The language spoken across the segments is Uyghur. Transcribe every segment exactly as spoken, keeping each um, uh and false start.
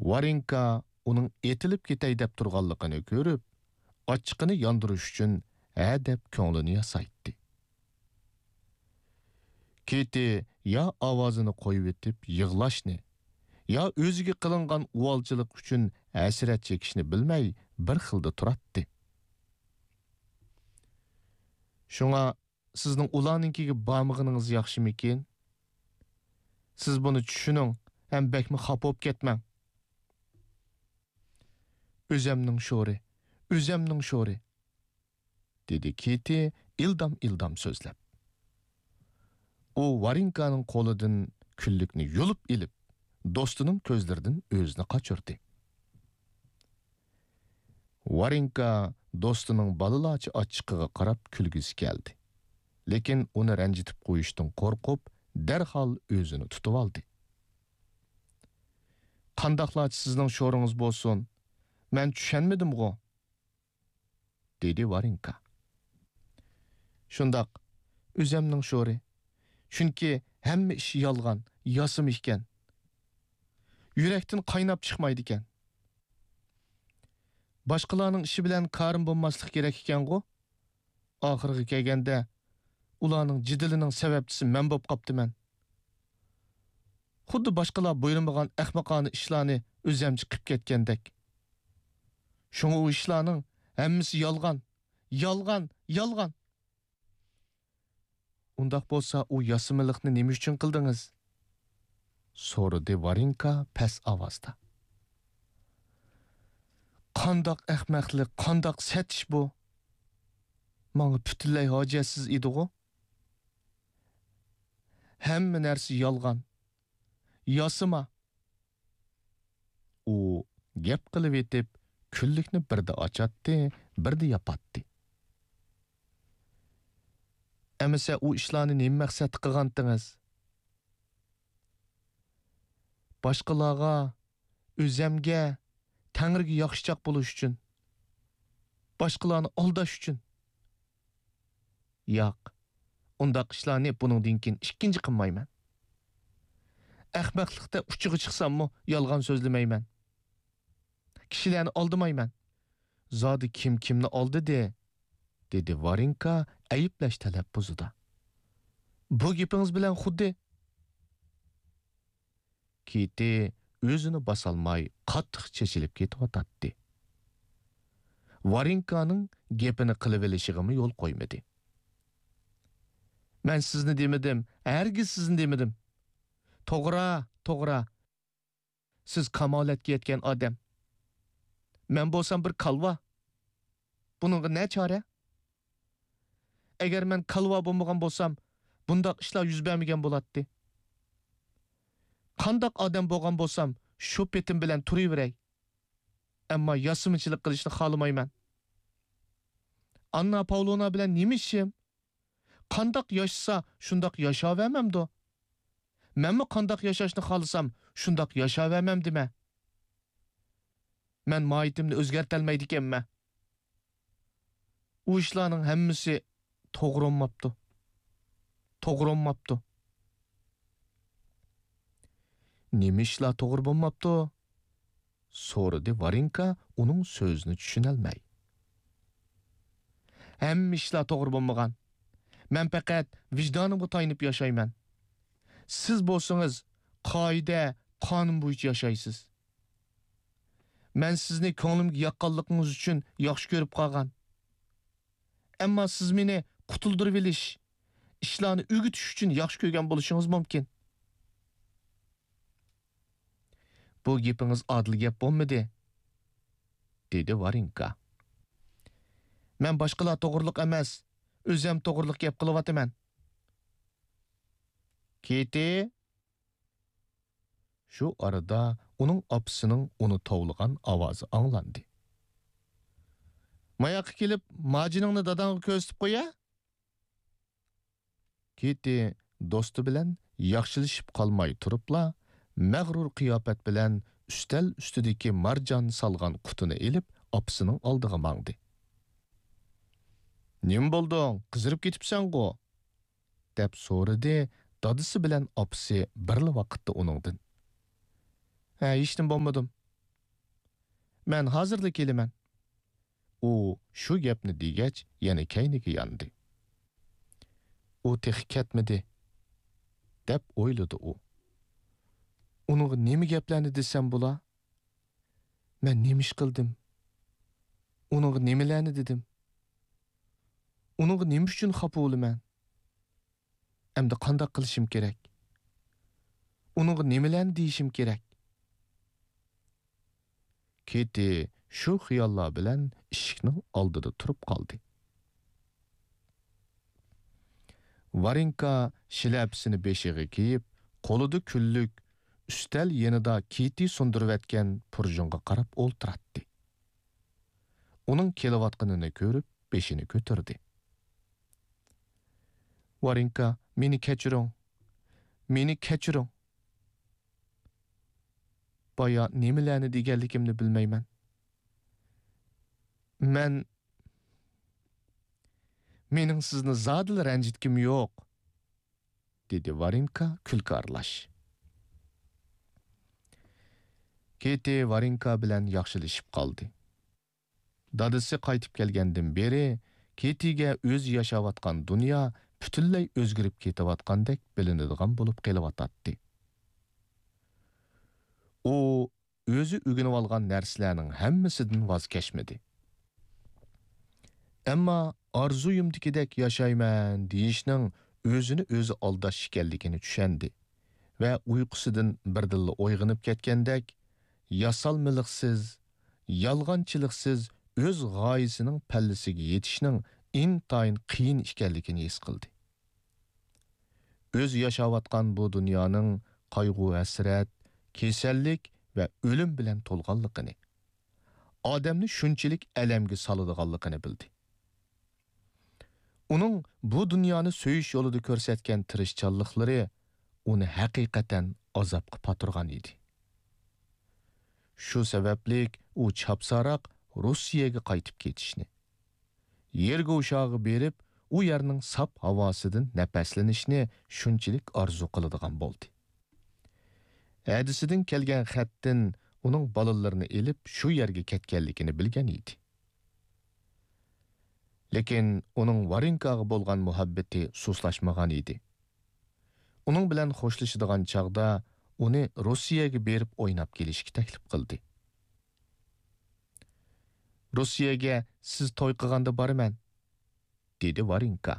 ۋارېنكا ئۇنىڭ ئېتىلىپ كېتەي دەپ تۇرغانلىقىنى كۆرۈپ، ئاچچىقىنى ياندۇرۇش ئۈچۈن ھە دەپ كۆڭلىنى ياسايتتى. كىتى يا ئاۋازىنى قويۇۋېتىپ يىغلاشنى، يا ئۆزىگە قىلىنغان ئۇۋالچىلىق ئۈچۈن ھەسرەت چېكىشنى بىلمەي بىر خىلدا تۇراتتى. شۇڭا سىزنىڭ ئۇلارنىڭكىگە بارمىغىنىڭىز ياخشىمىكىن؟ سىز بۇنى چۈشىنىڭ ھەم بەكمۇ خاپا بولۇپ كەتمەڭ. ئۆزەمنىڭ شورى، ئۆزەمنىڭ شورى، دېدى كىتى ئىلدام-ئىلدام سۆزلەپ. ئۇ ۋارېنكانىڭ قولىدىن كۈنلۈكنى يۇلۇپ ئېلىپ، دوستىنىڭ كۆزلىرىدىن ئۆزىنى قاچۇردى. ۋارېنكا دوستىنىڭ بالىلارچە ئاچچىقىغا قاراپ كۈلگۈسى كەلدى. لېكىن ئۇنى رەنجىتىپ قويۇشتىن قورقۇپ، دەرھال ئۆزىنى تۇتۇۋالدى. «قانداقلارچە سىزنىڭ شورىڭىز بولسۇن، مەن چۈشەنمىدىمغۇ؟» دېدى ۋارېنكا. «شۇنداق، ئۆزەمنىڭ شورى. چۈنكى ھەممە ئىش يالغان، ياسىما ئىكەن. يۈرەكتىن قايناپ چىقمايدىكەن. باشقىلارنىڭ ئىشى بىلەن كارىم بولماسلىق كېرەك ئىكەنغۇ؟ ئاخىرىغا كەلگەندە، ئۇلارنىڭ جېدىلىنىڭ سەۋەبچىسى مەن بولۇپ قاپتىمەن. خۇددى باشقىلار بۇيرۇمىغان ئەخمىقانە ئىشلارنى ئۆزەمچە قىپ كەتكەندەك. شۇڭا ئۇ ئىشلارنىڭ ھەممىسى يالغان، يالغان، يالغان.» «ئۇنداق بولسا، ئۇ ياسىمىلىقنى نېمە ئۈچۈن قىلدىڭىز؟» سورىدى ۋارېنكا پەس ئاۋازدا. «قانداق ئەخمەقلىق، قانداق سەت ئىش بۇ! ماڭا پۈتۈنلەي ھاجەتسىز ئىدىغۇ؟ ھەممە نەرسە يالغان، ياسىما.» ئۇ گەپ قىلىۋېتىپ، كۈنلۈكنى بىردە ئاچاتتى، بىردە ياپاتتى. «ئەمىسە ئۇ ئىشلارنى نېمە مەقسەتتە قىلغانتىڭىز؟» «باشقىلارغا، ئۆزەمگە، تەڭرىگە ياخشىچاق بولۇش ئۈچۈن. باشقىلارنى ئالداش ئۈچۈن.» «ياق، ئۇنداق ئىشلارنى بۇنىڭدىن كېيىن ئىككىنچى قىلمايمەن. ئەخمەقلىقتە ئۇچىغا چىقساممۇ يالغان سۆزلىمەيمەن. كىشىلەرنى ئالدىمايمەن. زادى كىم كىمنى ئالدىدى؟» دېدى ۋارېنكا ئەيىبلەش تەلەپپۇزىدا. «بۇ گېپىڭىز بىلەن خۇددى...» كىتى ئۆزىنى باسالماي قاتتىق چېچىلىپ كېتىۋاتاتتى. ۋارېنكانىڭ گېپىنى قىلىۋېلىشىغىمۇ يول قويمىدى. «مەن سىزنى دېمىدىم، ھەرگىز سىزنى دېمىدىم. توغرا، توغرا. سىز كامالەتكە يەتكەن ئادەم. مەن بولسام بىر كالۋا. بۇنىڭغا نە چارە؟ ئەگەر مەن كالۋا بولمىغان بولسام، بۇنداق ئىشلار يۈز بەرمىگەن بولاتتى. قانداق ئادەم بولغان بولسام، شۇ پېتىم بىلەن تۇرۇۋېرەي. ئەمما ياسىمىچىلىق قىلىشنى خالىمايمەن. ئاننا پاۋلونا بىلەن نېمە ئىشىم؟ قانداق ياشىسا، شۇنداق ياشاۋەرمەمدۇ؟ مەنمۇ قانداق ياشاشنى خالىسام، شۇنداق ياشاۋەرمەمدىمە؟ مەن ماھىيىتىمنى ئۆزگەرتەلمەيدىكەنمەن. ئۇ ئىشلارنىڭ ھەممىسى توغرا بولماپتۇ. توغرا بولماپتۇ.» «نېمە ئىشلار توغرا بولماپتۇ؟» سورىدى ۋارېنكا ئۇنىڭ سۆزىنى چۈشىنەلمەي. «ھەممە ئىشلار توغرا بولمىغان. مەن پەقەت ۋىجدانىمغا تايىنىپ ياشايمەن. سىز بولسىڭىز قائىدە، قانۇن بويىچە ياشايسىز. مەن سىزنى كۆڭلۈمگە ياققانلىقىڭىز ئۈچۈن ياخشى كۆرۈپ قالغان. ئەمما سىز مېنى قۇتۇلدۇرۇۋېلىش، ئىشلارنى ئۆگىتىش ئۈچۈن ياخشى كۆرگەن بولۇشىڭىز مۇمكىن.» «بۇ گېپىڭىز ئادىل گەپ بولمىدى،» دېدى ۋارېنكا. «مەن باشقىلار توغرۇلۇق ئەمەس، ئۆزەم توغرۇلۇق گەپ قىلىۋاتىمەن.» «كىتى!» شۇ ئارىدا ئۇنىڭ ئاپىسىنىڭ ئۇنى توۋلىغان ئاۋازى ئاڭلاندى. «ماياققا كېلىپ، ماجىنىڭنى داداڭغا كۆرسىتىپ قويە.» كىتى دوستى بىلەن ياخشىلىشىپ قالماي تۇرۇپلا، مەغرۇر قىياپەت بىلەن ئۈستەل ئۈستىدىكى مارجان سالغان قۇتىنى ئېلىپ، ئاپىسىنىڭ ئالدىغا ماڭدى. «نېمە بولدۇڭ؟ قىزىرىپ كېتىپسەنغۇ؟» دەپ سورىدى دادىسى بىلەن ئاپىسى بىرلا ۋاقىتتا ئۇنىڭدىن. «ھە، ھېچنېمە بولمىدىم. مەن ھازىرلا كېلىمەن. ئۇ شۇ گەپنى دېگەچ، يەنە كەينىگە ياندى. ئۇ تېخى كەتمىدى، دەپ ئويلىدى ئۇ. ئۇنىڭغا نېمە گەپلەرنى دېسەم بولا؟ مەن نېمە ئىش قىلدىم؟ ئۇنىڭغا نېمىلەرنى دېدىم؟ ئۇنىڭغا نېمە ئۈچۈن خاپا بولىمەن؟ ئەمدى قانداق قىلىشىم كېرەك؟ ئۇنىڭغا نېمىلەرنى دېيىشىم كېرەك؟ كېتى شۇ خىياللار بىلەن ئىشىكنىڭ ئالدىدا تۇرۇپ قالدى. ۋارېنكا شىلەپىسىنى بېشىغا كىيىپ، قولىدا كۈنلۈك، ئۈستەل يېنىدا كېتى سۇندۇرۇۋەتكەن پۇرژۇنغا قاراپ ئولتۇراتتى. ئۇنىڭ كېلىۋاتقىنىنى كۆرۈپ، بېشىنى كۆتۈردى. ۋارېنكا، مېنى كەچۈرۈڭ. مېنى كەچۈرۈڭ. بايا نېمىلەرنى دېگەنلىكىمنى بىلمەيمەن. مەن، مېنىڭ سىزنى زادىلا رەنجىتكۈم يوق، دېدى ۋارېنكا كۈلكە ئارىلاش. كېتى ۋارېنكا بىلەن ياخشىلىشىپ قالدى. دادىسى قايتىپ كەلگەندىن بېرى كېتىگە ئۆزى ياشاۋاتقان دۇنيا پۈتۈنلەي ئۆزگىرىپ كېتىۋاتقاندەك بىلىنىدىغان بولۇپ قېلىۋاتاتتى. ئۇ ئۆزى ئۆگىنىۋالغان نەرسىلەرنىڭ ھەممىسىدىن ۋاز كەچمىدى. ئەمما ئارزۇيۇمدىكىدەك ياشايمەن دېيىشنىڭ ئۆزىنى ئۆزى ئالداش ئىكەنلىكىنى چۈشەندى ۋە ئۇيقۇسىدىن بىردىنلا ئويغىنىپ كەتكەندەك، ياسالمىلىقسىز، يالغانچىلىقسىز ئۆز غايىسىنىڭ پەللىسىگە يېتىشنىڭ ئىنتايىن قىيىن ئىكەنلىكىنى ھېس قىلدى. ئۆزى ياشاۋاتقان بۇ دۇنيانىڭ قايغۇ-ھەسرەت، كېسەللىك ۋە ئۆلۈم بىلەن تولغانلىقىنى، ئادەمنى شۇنچىلىك ئەلەمگە سالىدىغانلىقىنى بىلدى. ئۇنىڭ بۇ دۇنيانى سۆيۈش يولىدا كۆرسەتكەن تىرىشچانلىقلىرى ئۇنى ھەقىقەتەن ئازابقا پاتۇرغان ئىدى. شۇ سەۋەبلىك ئۇ چاپسانراق روسىيەگە قايتىپ كېتىشنى، يېرگوشاغا بېرىپ، ئۇ يەرنىڭ ساپ ھاۋاسىدىن نەپەسلىنىشنى شۇنچىلىك ئارزۇ قىلىدىغان بولدى. ھەدىسىدىن كەلگەن خەتتىن ئۇنىڭ بالىلىرىنى ئېلىپ شۇ يەرگە كەتكەنلىكىنى بىلگەن ئىدى. لېكىن ئۇنىڭ ۋارېنكاغا بولغان مۇھەببىتى سۇسلاشمىغان ئىدى. ئۇنىڭ بىلەن خوشلىشىدىغان چاغدا ئۇنى روسىيەگە بېرىپ ئويناپ كېلىشكە تەكلىپ قىلدى. «روسىيەگە سىز توي قىلغاندا بارىمەن»، دېدى ۋارېنكا.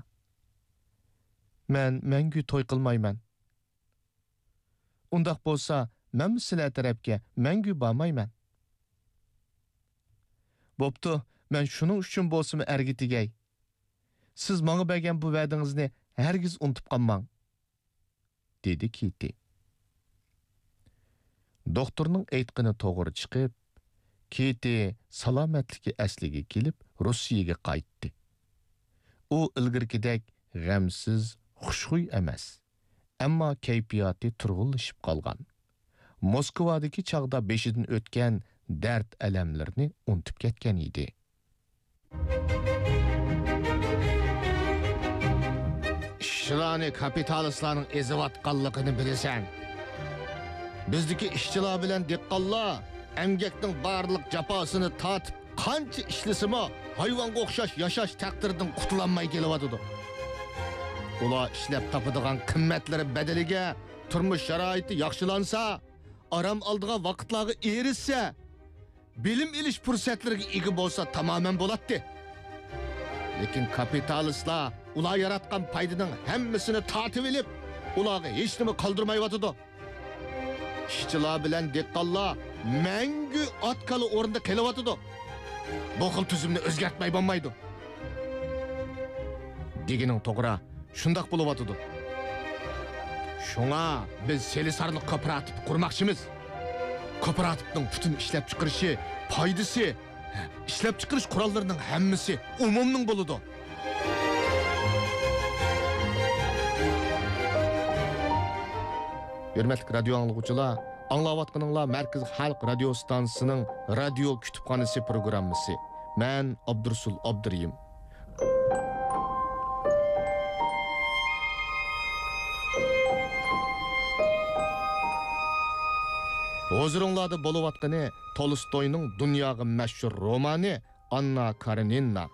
«مەن مەڭگۈ توي قىلمايمەن.» «ئۇنداق بولسا، مەنمۇ سىلەر تەرەپكە مەڭگۈ بارمايمەن.» «بوپتۇ، مەن شۇنىڭ ئۈچۈن بولسىمۇ ئەرگە تېگەي. سىز ماڭا بەرگەن بۇ ۋەدىڭىزنى ھەرگىز ئۇنتۇپ قالماڭ.» دېدى كېتى. دوختۇرنىڭ ئېيتقىنى توغرا چىقىپ، كېتى سالامەتلىكى ئەسلىگە كېلىپ، روسىيەگە قايتتى. ئۇ ئىلگىرىكىدەك غەمسىز، خۇشخۇي ئەمەس، ئەمما كەيپىياتى تۇرغۇنلىشىپ قالغان. موسكۋادىكى چاغدا بېشىدىن ئۆتكەن دەرد-ئەلەملىرىنى ئۇنتۇپ كەتكەن ئىدى. ئىشچىلارنى كاپىتالىستلارنىڭ ئېزىۋاتقانلىقىنى بىلىسەن. بىزدىكى ئىشچىلار بىلەن دېھقانلار ئەمگەكنىڭ بارلىق جاپاسىنى تارتىپ، قانچە ئىشلىسىمۇ، ھايۋانغا ئوخشاش ياشاش تەقدىرىدىن قۇتۇلالماي كېلىۋاتىدۇ. ئۇلار ئىشلەپ تاپىدىغان قىممەتلىرى بەدىلىگە تۇرمۇش شارائىتى ياخشىلانسا، ئارام ئالىدىغان ۋاقىتلارغا ئېرىشسە، بىلىم ئېلىش پۇرسەتلىرىگە ئىگە بولسا تامامەن بولاتتى. لېكىن كاپىتالىستلار ئۇلار ياراتقان پايدىنىڭ ھەممىسىنى تارتىۋېلىپ، ئۇلارغا ھېچنېمە قالدۇرمايۋاتىدۇ. ئىشچىلار بىلەن دېھقانلار مەڭگۈ ئات-كالا ئورنىدا قېلىۋاتىدۇ. بۇ خىل تۈزۈمنى ئۆزگەرتمەي بولمايدۇ. دېگىنىڭ توغرا، شۇنداق بولۇۋاتىدۇ. شۇڭا بىز سېلىسارلىق كوپىراتىپى قۇرماقچىمىز. كوپىراتىپنىڭ پۈتۈن ئىشلەپچىقىرىشى، پايدىسى، ئىشلەپچىقىرىش قوراللىرىنىڭ ھەممىسى ئومۇمنىڭ بولىدۇ. ھۆرمەتلىك رادىيو ئاڭلىغۇچىلار، ئاڭلاۋاتقىنىڭلار مەركىزىي خەلق رادىيو ئىستانسىسىنىڭ رادىيو كۇتۇپخانىسى پروگراممىسى. مەن ئابدۇرۇسۇل ئابدۇرېھىم. ھۇزۇرۇڭلاردا بولۇۋاتقىنى تولستوينىڭ دۇنياغا مەشھۇر رومانى ئاننا كارېنىنا.